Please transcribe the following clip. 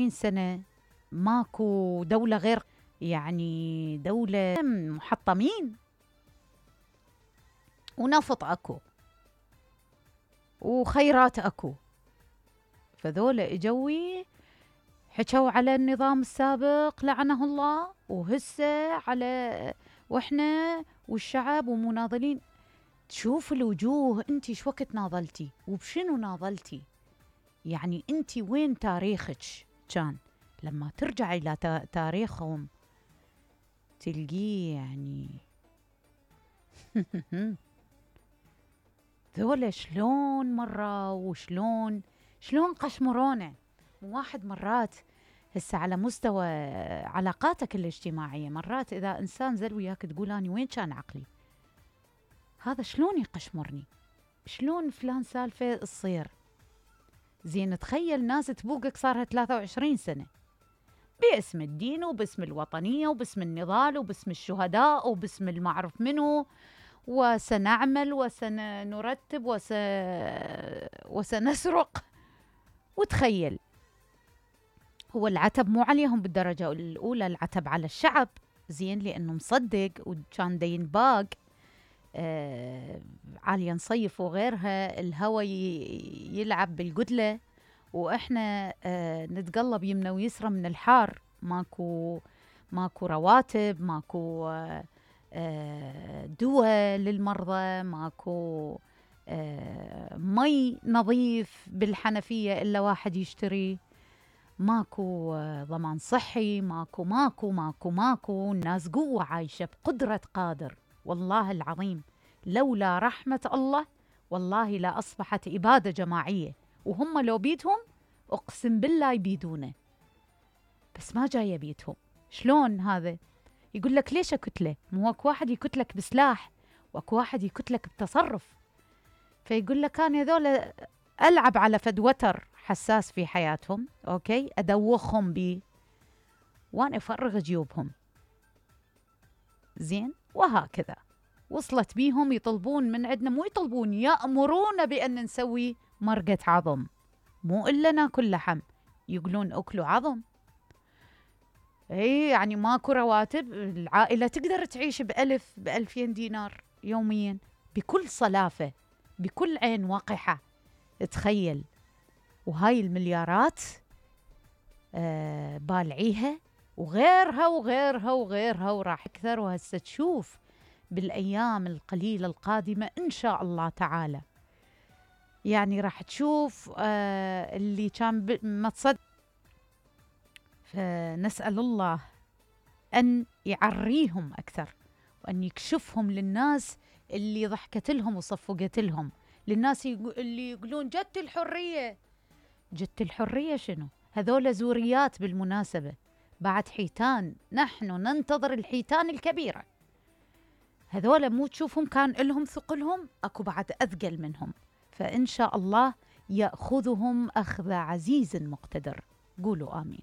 سنة ماكو دولة غير، يعني دولة محطمين، ونفط اكو وخيرات اكو. فذولا اجوي حكوا على النظام السابق لعنه الله، وهسه على واحنا والشعب ومناضلين. تشوف الوجوه، انتي شو وقت ناضلتي وبشنو ناضلتي؟ يعني انتي وين تاريخك كان؟ لما ترجع الى تاريخهم تلقيه يعني ذولا شلون مرة وشلون قشمرونا. واحد مرات هسه على مستوى علاقاتك الاجتماعية، مرات إذا إنسان زل وياك تقول أنا وين كان عقلي؟ هذا شلون يقشمرني؟ شلون فلان سالفة تصير؟ زين تخيل ناس تبوقك صارها 23 سنة باسم الدين وباسم الوطنية وباسم النضال وباسم الشهداء وباسم المعرف منه، وسنعمل وسنرتب وسنسرق. وتخيل هو العتب مو عليهم بالدرجة الأولى، العتب على الشعب، زين، لأنه مصدق وكان دين باق عالية نصيف وغيرها، الهوى يلعب بالقدلة وإحنا نتقلب يمنا ويسرى من الحار. ماكو رواتب، ماكو دواء للمرضى، ماكو مي نظيف بالحنفية إلا واحد يشتري، ماكو ضمان صحي، ماكو. الناس قوة عايشة بقدرة قادر، والله العظيم لولا رحمة الله والله لا أصبحت إبادة جماعية، وهم لو بيدهم أقسم بالله يبيدونه، بس ما جاية بيدهم. شلون هذا؟ يقول لك ليش أكتله؟ مو اكو واحد يكتلك بسلاح واكو واحد يكتلك بتصرف. فيقول لك أنا هذول ألعب على فد وتر حساس في حياتهم، أوكي، أدوخهم بيه وأنا أفرغ جيوبهم، زين. وهكذا وصلت بيهم يطلبون من عندنا، مو يطلبون، يأمرون بأن نسوي مرقة عظم، مو إلا ناكل لحم، يقولون أكلوا عظم. اي يعني ماكو رواتب، العائلة تقدر تعيش ب1000 ب2000 دينار يوميا بكل صلافة، بكل عين وقحة. تخيل، وهاي المليارات بالعيها وغيرها وغيرها وغيرها وراح أكثر. وهسه تشوف بالأيام القليلة القادمة إن شاء الله تعالى، يعني راح تشوف اللي كان ما تصدق. فنسأل الله أن يعريهم أكثر، وأن يكشفهم للناس اللي ضحكت لهم وصفقت لهم، للناس اللي يقولون جت الحرية. جت الحرية شنو؟ هذول زوريات بالمناسبة، بعد حيتان، نحن ننتظر الحيتان الكبيرة. هذول مو تشوفهم كان لهم ثقلهم، أكو بعد أثقل منهم، فإن شاء الله يأخذهم أخذ عزيز مقتدر. قولوا آمين.